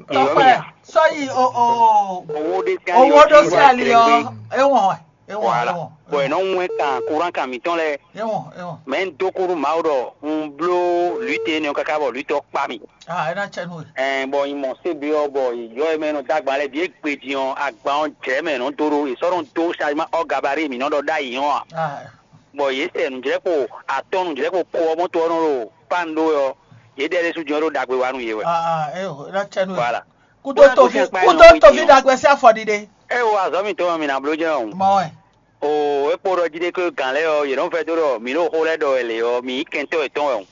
Èyí ɔ́ mi nya. Sɔyi o o. Owó ɖé sí ali owó ɖó sí ali ɔ. Ewɔn ewɔn ewɔn. Bɔn ɛ nɔ ŋu kan kuran kan mǐtɔn lɛ. Ewɔn ewɔn. Mɛ ń dó kúrú Mawu ɖɔ un bló lǔte énɛ́ ɔ́ káká bɔ lǔte ɔ́ kpá mì. Ah, ena cɛ nu. Ɛn bɔ nyi mɔ sébi ɔ́ bɔ yɔ ɛ mɛ nɔ dó agban lɛ bǐ é gbe din ɔ́, agban ɔ́ jɛ mɛ nɔ dó ɖó è sɔ́ nɔ dó Salima ɔ́ gabarí mǐ nɔ ɖɔ ɖ'ayǐ ɔ́ a. Bɔ yě sɛ nǔjlɛ́kpo atɔ́ nǔjlɛ́kpo ko ɔ́ mɔ́ to ɔ́ nɔ ɖo kpán ɖó wɛ ɔ́, yě ɖɛ ɖésú din ɔ́ ɖó ɖagbe wa nú yě wɛ. Ah, ah, eh, oh, ena cɛ nu. Voilà. Kudo tovi kudo tovi ɖagbe sí afɔ ɖiɖe. Ɛ wo azɔ̌ mitɔn mɛ mi nǎ bló jɛ́n ɔ́. Mɔ wɛ. Oo, é kpo ɖɔ jí ɖé ké gǎn lɛ́ɛ ɔ́, yě nɔ́ vɛdó ɖɔ mǐ ɖo xó lɛ́ɛ ɖɔ wɛ lě ɔ́, mǐ nyí kɛntɔ́ yětɔn wɛ hǔn.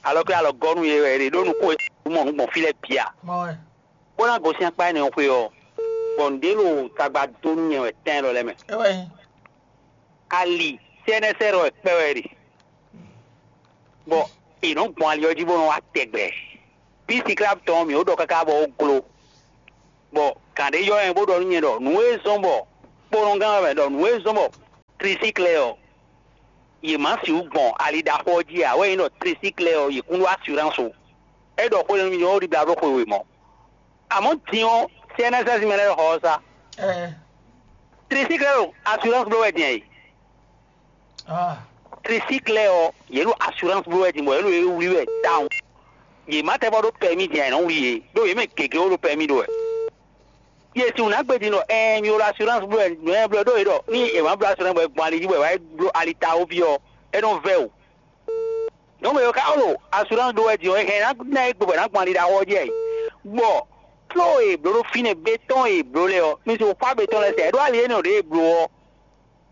Alɔ ké alɔ gɔ́ nú yě wɛ, yě ɖó nukún e mɔ nǔ gbɔn fí lɛ́ɛ bǐ a? Mɔ wɛ. Bó ná gosín akpá énɛ́ ɔ́ xwé ɔ́, bɔ nǔɖé ɖo tagba dó nú nyɛ wɛ tɛn lɔ lɛ́ɛ mɛ. É wɛ nyí. Ali C N S R wɛ kpɛ wɛ ɖe, bɔ è nɔ gbɔn ali ɔ́ jí bó nɔ wá tɛgbɛ. Písi klab tɔn ɔ́, mǐ ó ɖɔ káká bɔ ó gló, bɔ gǎn ɖé yɔ ɛ bó ɖɔ nú nyɛ ɖɔ nǔ e zɔ́n bɔ kponɔgán wɛ mɛ ɖɔ nǔ e zɔ́n bɔ trisiklɛ ɔ́, yě má sixú gbɔn ali ɖaxó ɔ́ jí ǎ wɛ nyí ɖɔ trisiklɛ ɔ́, yě kún ɖó asiránsi ó. É ɖɔ xó nú mì ɔ́, ó ɖi blá bló xwe wěmɔ. Amɔ̌ din ɔ́, C N S S mɛ lɛ́ɛ xɔ ɔ́ sá. Trisiklɛ ɖo asiránsi bló wɛ din ɛ. Trisiklɛ ɔ́, yě ɖo asiránsi bló wɛ din bɔ yě ɖo yě wlí wɛ tawun. Yě má tɛ́ bɔ ɖó pɛmí din ɛ, yě nɔ wlí yě, ɖó yě mɛ gěgé ó ɖo pɛmí ɖó wɛ. Yě sixú ná gbe din ɖɔ ɛɛ mi ɖo asiránsi bló wɛ nǔ e bló ɖó yě ɖɔ ní è wǎ bló asiránsi bɔ è gbɔn ali jí bɔ è wá bló ali ta ó ví ɔ́, é nɔ vɛ́ o. Nǔ e ka ɖo assurance ɖó wɛ din ɔ́, è hɛn ná ná é gbe bɔ è nǎ gbɔn ali ɖaxó ɔ́ jí ɛ. Bɔ tló e è blǒ ɖó fínɛ́ bétɔn e è blǒ lɛ́ɛ ɔ́, mi si xwá bétɔn lɛ́ɛ sɛ, è ɖó ali énɛ́ ɖě è blǒ ɔ́,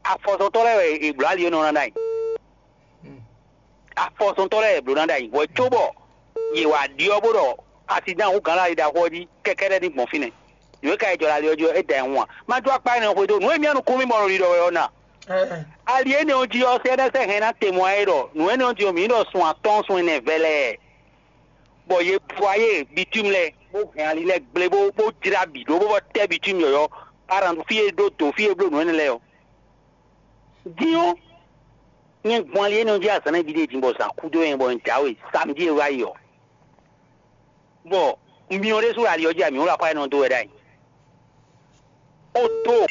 afɔsɔntɔ́ lɛ́ɛ wɛ è blǒ ali énɛ́ ɔ́ ná ɖ'ayǐ. Afɔsɔntɔ́ lɛ́ɛ è blǒ ná ɖ'ayǐ, hwɛ cóbɔ yě wá ɖyɔ́ bó ɖɔ asidán hú gǎn ali ɖaxó ɔ́ jí kɛkɛ́ɖɛ́ ní gbɔn fínɛ́. Nǔ e ka yi jɔ ɖo ali ɔ́ jí ɔ́, é da ɛ hun ǎ. Má jó akpá énɛ́ ɔ́ xwedó nǔ e mì nukún mì mɔ ɖo ɖiɖɔ wɛ ɔ́ ná. Ali énɛ́ ɔ́ jí ɔ́, C N S N hɛn ná te mɔ ɛ ɖɔ nǔ énɛ́ ɔ́ jí ɔ́, mǐ ɖɔ sun atɔ́ɔ́n sun ɛnɛ vɛlɛɛ, bɔ yě vɔ ayé bitúmi lɛ́ɛ, bó hɛn ali lɛ́ɛ gblé, bó bó jlá bǐ ɖó, bó bɔ tɛ́ bitúmi yɔ̌yɔ́, paran fí e ɖó dǒ fí e bló nǔ énɛ́ lɛ́ɛ ɔ́. Dín ɔ́, nyɛ gbɔn ali énɛ́ ɔ́ jí azǎn nɛ́ ví ɖé din bɔ zǎn kú dó nyɛ bɔ un jǎwe samjí e wá yi ɔ́, bɔ un myɔ ɖésú ali ɔ́ jí amǐ wlá xwá énɛ́ ɔ́ dó wɛ ɖ'ayǐ. Ó dó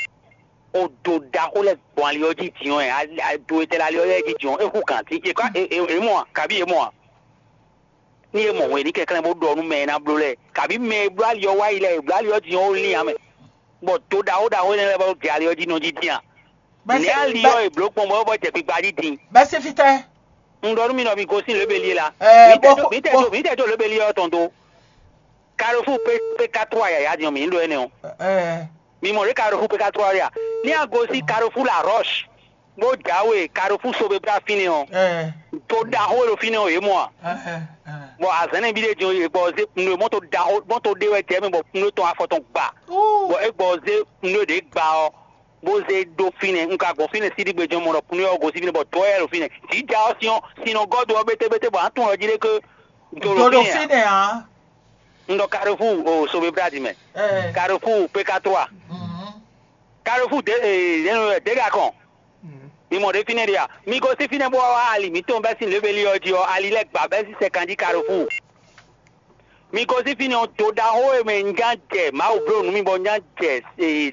odo ɖaxó lɛ́ɛ gbɔn ali ɔ́ jí din ɔ́, ado e tɛ́ lɛ́ ali ɔ́ lɛ́ɛ jí din ɔ́, é hú gǎn dín. È ká è mɔ a? Kabí è mɔ a? Ní è mɔ hwenu ní kɛnklɛ́n bó ɖɔ nú mɛ e ná bló lɛ́ɛ, kabí mɛ e bló ali ɔ́ wá yi lɛ́ɛ, è bló ali ɔ́ din ɔ́, ó lín ǎ mɛ, bɔ do ɖaxó ɖaxó énɛ́ lɛ́ɛ bɔ jɛ ali ɔ́ jí nɔ jí dín a? Nɛ̌ ali ɔ́ è blǒ gbɔn bɔ é bɔ jɛ gbigba jí din? Bɛ́ sín fítɛ́? Un ɖɔ nú mi ɖɔ mi gosín lěbelí e la. Ɛɛ, mǐ tɛ bó jó mǐ tɛ bó jó mǐ tɛ jó lěbelí ɔ́ tɔn dó. Carrefour P P K trois yǎyá din ɔ́, mǐ ní ɖó énɛ́ ɔ́. Ɛɛ, Mi mɔ ɖě Carrefour P K trois ɔ́ ɖe a? Ní a gosín Carrefour La Roche, bó jǎwe Carrefour Sobebra fínɛ́ ɔ́, ɛɛ, to ɖaxó e ɖo fínɛ́ ɔ́, yě mɔ a? Ɛɛ, ɛɛ. Bɔ azɛ̌nɛ́ ví ɖé din ɔ́, yě gbɔ zé nǔ e mɔto ɖaxó mɔto ɖé wɛ jɛ mɛ bɔ nǔ tɔn afɔ tɔn gba. Bɔ é gbɔ zé nǔ e ɖě gba ɔ́, bó zé ɖó fínɛ́. Un ka gbɔn fínɛ́ síɖígbe jɛ́n mɔ ɖɔ nú ɔ́ gosín fínɛ́ bɔ dɔ̌ wɛ ɖo fínɛ́. Jǐ ja ɔ́ sin ɔ́, sin nɔ gɔ́ do ɔ́ bétébété bɔ a nǎ tunwun ɖɔ jí ɖé ké do ɖo fínɛ́ ǎ. Un ɖɔ Carrefour o Sobebrad mɛ. Carrefour P K trois. Carrefour dé dégakɔn. Mi mɔ ɖě fínɛ́ ɖe a? Mi gosín fínɛ́ bó wá wá ali mǐtɔn bɛ́ sín lěbelí ɔ́ jí ɔ́, ali lɛ́ɛ gba bɛ́ sín sɛkan jí Carrefour. Mi gosín fínɛ́ ɔ́, do ɖaxó e mɛ un ná jɛ Mawu bló nǔ mi bɔ un ná jɛ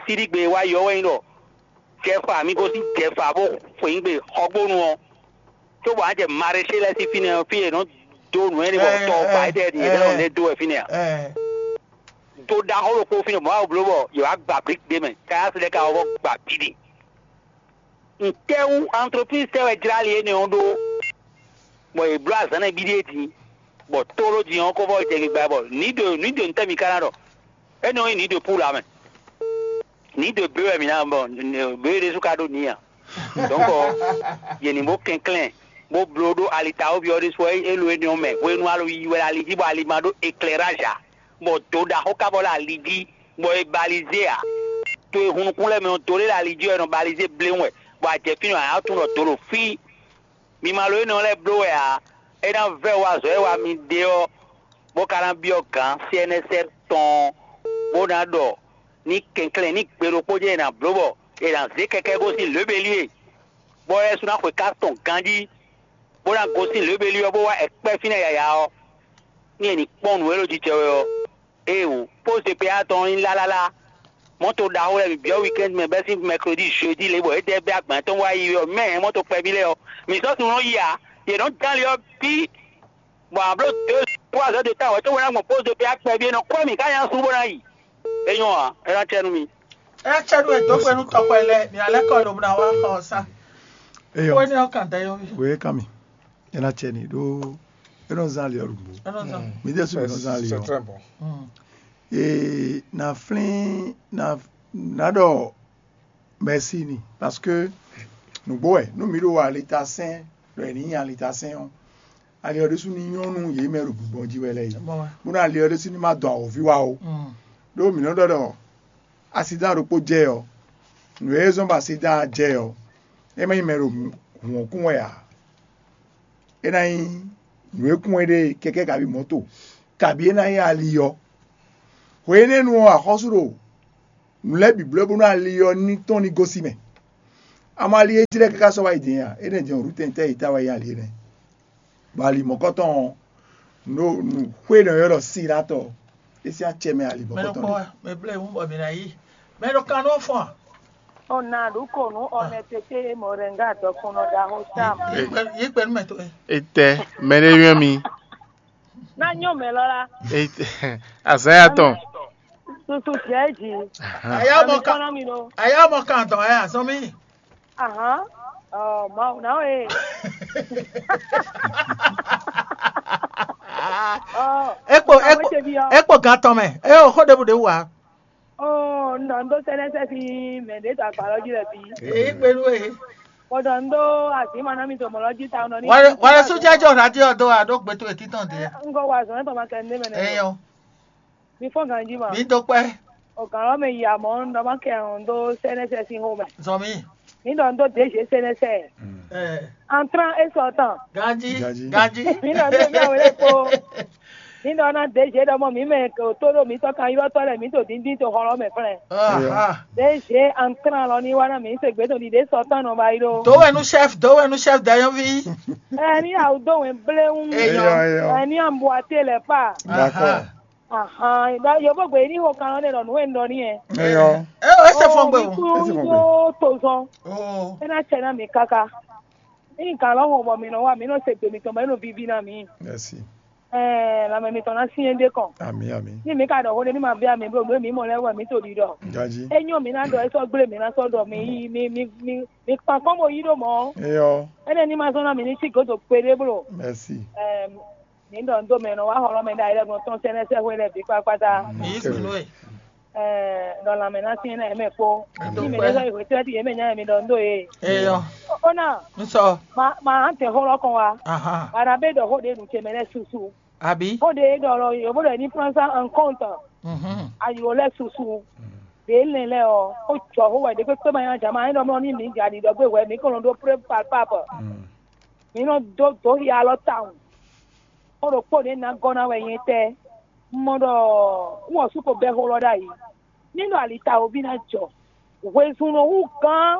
síɖígbe wá yi ɔ́ wɛ nyí ɖɔ jɛfa, mi gosín jɛfa bó xweyǐgbe xɔgbónu ɔ́, cóbɔ a jɛ Maréchée lɛ́ɛ sín fínɛ́ ɔ́, fí e è nɔ dó nǔ énɛ́ bɔ tɔ ba étɛ́ ɖi yě lɛ́ nɔ lɛ́ dó wɛ fínɛ́ ǎ. Do ɖaxó ɖokpó fínɛ́ bɔ Mawu bló bɔ yě wá gba blik ɖé mɛ, Kayási lɛ́ɛ ka wá bɔ gba bǐ ɖe. Ntɛ́wú antlopízi tɛ́ wɛ jlá ali énɛ́ ɔ́ ɖó, bɔ yě bló azǎn nɛ́ bíɖíe din, bɔ tólo din ɔ́ ko vɔ jɛ gbigba bɔ nǐ ɖo nǐ ɖo ntɛ́ mi ka ná ɖɔ? Énɛ́ ɔ́ nyí nǐ ɖo púla mɛ. Nǐ ɖo bě wɛ mǐ ná bɔ bě ɖésú ka ɖó nǐ ǎ. Dɔ̌nkɔ, yě ní bó kɛnklɛ́n, bó bló ɖó alitawoví ɔ́ ɖésú wɛ é lo énɛ́ ɔ́ mɛ hwenu alo yiyi wɛ ali jí bɔ ali ma ɖó eklɛrázi ǎ, bɔ do ɖaxó ka vɔ ɖo ali jí, bɔ è balizé ǎ. To e hun nukún lɛ́ɛ mɛ ɔ́, do ɖé ɖo ali jí wɛ è nɔ balizé bléwún wɛ, bɔ a jɛ fínɛ́ ɔ́, a nǎ tunwun ɖɔ do ɖo fí. Mi ma lo énɛ́ ɔ́ lɛ́ɛ bló wɛ ǎ; é ná vɛ́ wa azɔ̌ e wa mi ɖe ɔ́, bó ka ná byɔ́ gǎn C N S R tɔn ɔ́, bó ná ɖɔ ní kɛnklɛ́n ní gbe ɖokpó jɛ́n è nǎ bló bɔ è nǎ zé kɛkɛ́ gosín lěbelíe, bɔ é sú ná xwe ká tɔn ganjí, bó ná gosín lěbelí ɔ́, bó wá ɛkpɛ́ fínɛ́ yǎyá ɔ́, ní è ní kpɔ́n nǔ e ɖo jijɛ wɛ ɔ́. Éeǒ, pósí P A tɔn ɔ́ nyí lálálá. Mɔ̌to ɖaxó lɛ́ɛ bǐ byɔ́ wikɛ́nd mɛ bɛ́ sín mɛklodí, jeudi lě bɔ é dɛ bɛ́ agban tɔn wá yi ɔ́, mɛ hɛn mɔ̌to kpɛví lɛ́ɛ ɔ́, mǐ sɔ́ sun nɔ yi ǎ. Yě nɔ dán ali ɔ́ bǐ, bɔ a blǒ deux trois heures de temps wɛ cóbɔ ná gbɔn pósí P A kpɛví é nɔ kwɛ́ mǐ ká nya sú bó ná yi. É nyɔ́ ǎ, é ná cɛ nú mi. É ná cɛ nú we dó gbe nú tɔxɔ lɛ́ɛ, mǐ ná lɛ́ kɔ lobo ná wá xɔ ɔ́ sá. Eyɔ. Xó énɛ́ ɔ́ kan dɛ́ yɔ́ví. Wě é kan mì. É ná cɛ n'i ɖó é nɔ zán ali ɔ́ ɖo nǔgbó. É nɔ zán. Mǐ ɖésú mǐ nɔ zán ali ɔ́. Ee, na flín na na ɖɔ mɛ̌si ni, parce que nǔgbó wɛ nú mǐ ɖo alitasɛn ɖɔ è nǐ nyi alitasɛn ɔ́, ali ɔ́ ɖésú ní nyɔ́ nú yě mɛ ɖo gbǐgbɔ́n jí wɛ lɛ́ɛ é, bónú ali ɔ́ ɖésú ní ma dɔn awǒvi wá ó. Ɖó mǐ nɔ ɖɔ ɖɔ asidán ɖokpó jɛ ɔ́, nǔ e zɔ́n bɔ asidán jɛ ɔ́, é má nyí mɛ ɖo hǔn ɔ́ kún wɛ ǎ. É ná nyí nǔ e kún wɛ ɖe kɛkɛ́ kabí mɔ̌to, kabí é ná nyí ali ɔ́. Hwe énɛ́ nu ɔ́, axɔ́sú ɖo nǔ lɛ́ɛ bǐ bló bónú ali ɔ́ ní tɔ́n ní gosín mɛ. Amɔ ali e jlɛ́ káká sɔ́ wá yi din a? Énɛ́ din ɔ́, Rutɛn tɛ́ yi ta wɛ nyí ali énɛ́? Bɔ ali mɔ̌kɔtɔn ɔ́, nǔ nǔ xwé nɔ ylɔ́ ɖɔ Silatɔ, é sín acɛ mɛ ali mɔ̌kɔtɔn ɖe. Mɛ blɛ́ wú bɔ mǐ ná yí. Mɛ ɖo kan nɔ fɔn. Ona ɖu ko nú ɔnɛtete mɔrɛnga dɔkunnɔ ɖaxó Sam. Yí kpɛnú mɛ towe. Etɛ, mɛ ɖé yɔ́n mi. Ná nyɔ mɛ lɔ la. Azan ya tɔn. Susu jɛ ji. Aya mɔ kan. Aya mɔ kan tɔn aya sɔn mi. Ahan. Ɔ, Mawu na o ye. Ekpo ekpo ekpo gan tɔn mɛ. E o xó ɖebu ɖe wú wa. Ɔɔ, un ɖɔ un dó sɛ́nɛ́sɛ́ sín mɛ ɖě dó agba lɔ jí lɛ́ɛ bǐ. Ee, kpé nú we. Bɔ ɖɔ un dó azǐn ma ná mi dó mɔ̌ lɔ jí tawun nɔ ní. Wale wale sú jɛjɔ radio ɔ́ dó wa ɖó gbe towe títɔn din. Un gɔ wa azɔ̌ tɔn ma kɛ ndé mɛ nɛ. Eyɔ. Mi fɔ́n ganjí ma. Mi dó kpɛ́. O gǎn lɔ mɛ yi amɔ̌ un ɖɔ ma kɛ un dó sɛ́nɛ́sɛ́ sín xó mɛ. Zɔn mi. Mi ɖɔ un dó dě zě sɛ́nɛ́sɛ́. Ɛ. Antrán é sɔ tán. Ganjí. Ganjí. Ganjí. Mi ɖɔ un dó mi awě lɛ́ kpó. Mi ɖɔ ná dě zě ɖɔ mɔ mǐ mɛ tó ɖo mǐtɔn kan ylɔ́tɔ́ lɛ́ɛ mǐ to díndín to xɔ lɔ mɛ flɛ́. Aha. Dě zě antrán lɔ ní wá ná mǐ se gbě to ɖiɖě sɔ tán nɔ ba yi ɖó. Dǒ wɛ nú chef, dǒ wɛ nú chef dayɔ́ví. Ɛ ní awu dó wɛn bléwún. Eyɔ. Eyɔ, eyɔ. Ɛ ní ambuaté lɛ pa. D'accord. Ahan, ɖɔ yovógbe ní xo kan ɔ́ ɖe ɖɔ nǔ e un ɖɔ n'i wɛ. Eyɔ. É é se fɔn gbe o. Kún dó tozɔn. Oh. É ná cɛ ná mi káká. Ní kan lɔ hɔn bɔ mi nɔ wa mi nɔ se gbe mitɔn bɔ é nɔ vivi ná mi. Merci. Ɛɛ, lanmɛ mitɔn ná syɛ́n ɖe kɔn. Ami ami. Ní mi ka ɖɔ xó ɖé ní ma bia mi bló nǔ e mi mɔ lɛ́ɛ wɛ mi to ɖiɖɔ. Gaji. É nyɔ mi ná ɖɔ é sɔ́ gblé mi ná sɔ́ ɖɔ mi yí mi mi mi mi kpan kɔn bo yí ɖó mɔ. Eyɔ. Énɛ́ ní ma zɔn ná mi ní sí gǒdo kpeɖé bló. Merci. Ɛɛ, Mǐ ɖɔ nǔ dó mɛ e nɔ wá xɔ lɔ́ mɛ ɖ'ayǐ lɛ́ɛ gbɔn tɔn sɛ́nɛ́ sɛ́xwé lɛ́ɛ bǐ kpákpátá. Ní sunu e. Ɛɛ, ɖɔ lanmɛ ná syɛ́n ná yě mɛ kpó. Ní mɛ ɖé sɔ́ yi hwetɛ́ yě mɛ nya mi ɖɔ nǔ dó yě. Eyɔ. Ó ná. Un sɔ. Ma ma ǎ tɛ xó lɔ́ kɔn wá. Ahan. Bana bɛ ɖɔ xó ɖě nǔ ce mɛ lɛ́ɛ susu. Àbí. Xó ɖě ɖɔ lɔ yǒ bó ɖɔ ní prend ça en compte. Mhm. Ayǐ lɛ́ɛ susu. Ɖě lɛn lɛ́ɛ ɔ́, ó jɔ xó wɛ ɖě kpékpé ma nyá jǎ ma é ɖɔ mlɔ́ ní mǐ jǎ ɖiɖɔ gbé hwɛ mǐ kɔn nɔ ɖó pré palpable. Mm. Mǐ nɔ dó dǒ xia alɔ tawun. Xó ɖokpó ɖě ná gɔ́ ná wɛ nyɛ tɛ́. Un mɔ ɖɔ wú ɔ́ sú ko bɛ́ xó lɔ ɖ'ayǐ. Ní ɖɔ ali ta wo bí ná jɔ. Hwezun nɔ hú gán.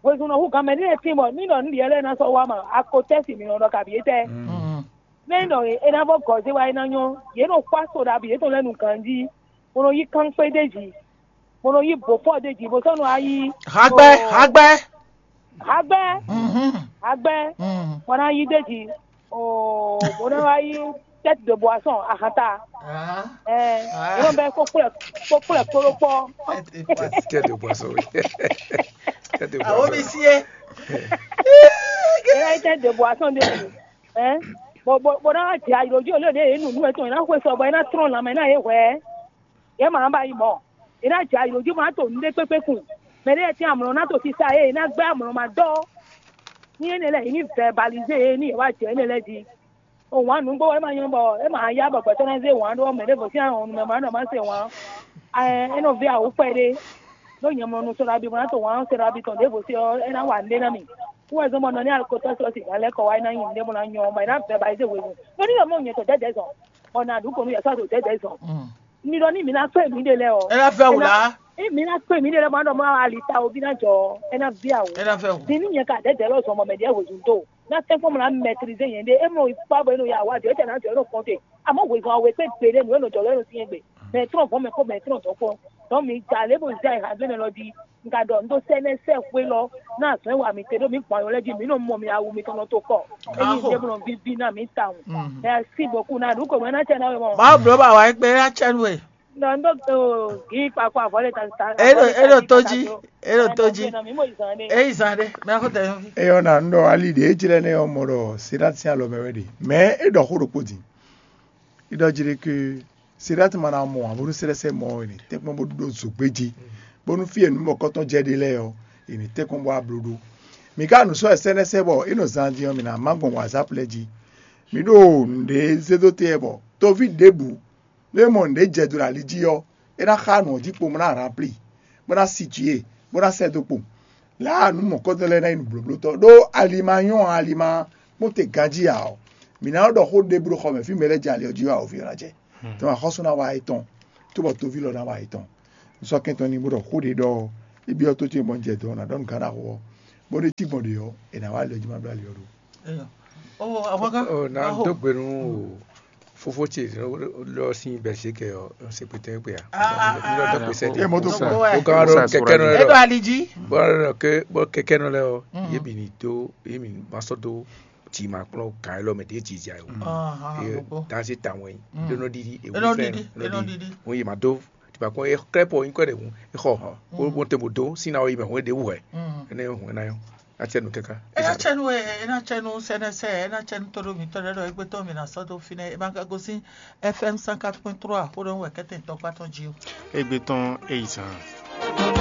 Hwezun nɔ hú gán mɛ ní e tín bɔ ní ɖɔ nǔ ɖiɛ lɛ́ɛ ná sɔ́ wá ma, akotɛ́ si mǐ nɔ ɖɔ kabǐ étɛ́. Mm. Mɛ ní ɖɔ é ná vɔ gɔ̌ zé wá é ná nyɔ́. Yě nɔ xwá so ɖabi yětɔn lɛ́ɛ nu ganjí, bó nɔ yí kánxwé d'é jí, bó nɔ yí bǒfɔ d'é jí, bó sɔ́ nɔ wá yí Hagbɛ, hagbɛ. Hagbɛ. Mhm. Hagbɛ. Mhm. Bó ná yí d'é jí. Oo, bó ná wá yí tête de boisson ahanta. Ah. Ɛ, Ah. Yóò bɛ kó kplɛ kó kplɛ kpóɖó kpɔ. Tête de boisson, oui. Tête de boisson. Awo mi sie. Yóò yí tête de boisson d'é jí. Ɛ, bó bó bó ná wá jɛ ayǐlójú olóde yě nunu etɔn yě ná xwe sɔ bɔ yě ná trɔn lanmɛ ná yě hwɛ. Yě ma ba yi mɔ. Yě ná jɛ ayǐlójú ma to nǔɖé kpékpé kun. Mɛ ɖé tɛ́n amlɔ ná to sisa yé, yě ná gbɛ́ amlɔ ma dɔ. Ní énɛ́ lɛ́ɛ yě ní vɛbalízé yě ní yě wá jɛ énɛ́ lɛ́ɛ jí. O wǎn nǔgbó wɛ é ma nyɔ́ bɔ é ma yá bɔ gbɛtɔ́ ná zé wǎn ɖó mɛ ɖěvo sín ahɔn nú mɛ ma ɖɔ má se wǎn. Ɛ é nɔ ví awǔ kpɛɖé. Ɖó nyɛ mlɔ nu sɔ́ ɖabi bɔ ná to wǎn sɔ́ ɖabi tɔn ɖěvo sí ɔ́ é ná wa nǔɖé ná mì. Kú wɛ zɔ́n bɔ nɔ ní alukotɔ́ sɔ́ si gǎn lɛ́ kɔ wá é ná nyi nǔɖé bɔ ná nyɔ bɔ é ná vɛbalízé hwenu. Ɖó ní ɖɔ mɔ nyɛ tɔn dɛ̌dɛ̌ zɔn. Bɔ nǎ ɖu kɔnu yɛ sɔ́ ɖo dɛ̌dɛ̌ zɔn. Mi ɖɔ ní mi ná kpé mi ɖe lɛ́ɛ ɔ. É ná fɛ wǔ lá. Emi ná kpé mi ɖe lɛ́ɛ bɔ ná ɖɔ mɔ ali ta o bí ná jɔ ɔ, é ná ví awǔ. É ná fɛ wǔ. Din ní nyɛ ka dɛ̌dɛ̌ lɔ zɔn bɔ mɛ ɖěe hwezun dó. Ná tɛ́nkpɔ́n mɔ ná mɛtirize nyɛ ɖe. É mɔ ikpá bɔ é nɔ ya wá jɔ, é tɛ ná jɔ é nɔ kɔn te. Àmọ́ hwezun awe kpé gbeɖé nǔ é nɔ jɔ lɔ é nɔ syɛ́n gbe. Mɛ trɔn vɔ̌ mɛ kpó mɛ trɔn dɔ̌n kpó. Dɔn mi ja lě bo zɛ ha gbé mɛ lɔ jí. Un ka ɖɔ un ɖó sɛ́nɛ́ sɛ́ xwé lɔ ná azɔ̌ e wa mi te ɖó mi gbɔn ayɔ lɛ́ɛ jí mi nɔ mɔ mi awu mitɔn nɔ to kɔ. Ényí un ɖe bó nɔ víví ná mi tawun. Merci beaucoup ná ɖu kò mɛ ná tɛ ná wɛ mɔ. Má bló bá wa é gbé ná tɛ nú we. Nɔ un ɖó gǐ kpakpa avɔ lɛ ta ta. É ɖo é ɖo tó jí. É ɖo tó jí. É yi zan ɖé. Mɛ xó tɛ yɔn fi. Eyɔ na un ɖɔ ali ɖě jlɛ́ nɛ ɔ́ mɔ ɖɔ Siɖáti sín alɔ mɛ wɛ ɖe. Mɛ é ɖɔ xó ɖokpó din. É ɖɔ jí ɖé ké Siɖáti ma ná mɔ ǎ bónú sɛ́lɛ́sɛ́ mɔ ɔ́, è nǐ tɛ́nkpɔ́n bó ɖó zǒgbé jí, bónú fí e nǔ mɔ̌kɔtɔn jɛ ɖe lɛ́ɛ ɔ́, è nǐ tɛ́nkpɔ́n bó wá bló ɖó. Mǐ ka nǔ sɔ́ wɛ sɛ́nɛ́sɛ́ bɔ é nɔ zan din ɔ́, mǐ ná má gbɔn WhatsApp lɛ́ɛ jí. Mǐ ɖo nǔɖé zé dó te wɛ bɔ toví ɖěbǔ, nú é mɔ nǔɖé jɛ do ɖo ali jí ɔ́, é ná xá nǔ ɔ́ jí kpowun bó ná ranplí, bó ná situé, bó ná sɛ́ dó kpowun. Lǎ nǔ mɔ̌kɔtɔn lɛ́ɛ ná nyí nǔblóblótɔ́ ɖó ali ma nyɔ́ ǎ, ali ma kpɔ́n te ganjí ǎ ɔ́, mǐ ná nɔ́ ɖɔ xó ɖěbǔ ɖo xɔ mɛ fí mɛ lɛ́ɛ jɛ ali ɔ́ jí wɛ awǒvi ɔ́ ná jɛ. Tɔn axɔ́sú ná wá étɔn, cóbɔ toví lɔ ná wá étɔn. Un sɔ́ kɛntɔ́ n'i bó ɖɔ xó ɖě ɖɔ é byɔ́ tó ce bɔ un jɛ dɔ̌n ná ɖɔ nǔ gán ná xo ɔ́, bó ɖé cí gbɔn ɖě ɔ́, è nǎ wá ali ɔ́ jí ma ɖó ali ɔ́ ɖó. Ó, àwọn kan. Ɔ na dó gbe nú o fofó ce lɔ sín bɛsíkɛ ɔ sɛkpɛtɛ kpɛ a Ah, ah, n lɔ dɔ ah. pèsè É mɔ tó Gbogbo fún ɛ. O kan ɖo kɛkɛ nɔ É lɛ ɖo lɔ ali jí. bɔ lɔ ke bɔ kɛkɛ nɔ lɛ ɔ yé bi ni dó yé mi ma sɔ dó tì ma kplɔ kan lɔ mɛ dé jija o Ahàn, ye gbogbo. Dansi ta wɛn Mm. ɖo nɔ ɖiɖi É nɔ ɖiɖi, é nɔ ɖiɖi. Ŋun yi ma dó tipa kpɔn e klɛ pɔ yin kɔ ɖe ŋun e xɔ hɔn ko bó te mo dó sin na o yi mɛ ŋun e ɖe wú hɛ Mm. ene ŋun ena yɔ atsɛ nu kɛkɛ. Ena tsɛnu ɛ, ena tsɛnu sɛnɛsɛ, ena tsɛnu toɖo mǐtɔn ɖe ɖɔ égbé tɔn mǐ ná sɔ́ dó fínɛ́. Ema ka gosín F M cent quatre point trois xó ɖɔ wɛ kɛ́tɛn tɔkpá tɔn jí o. Égbé tɔn é yi zan.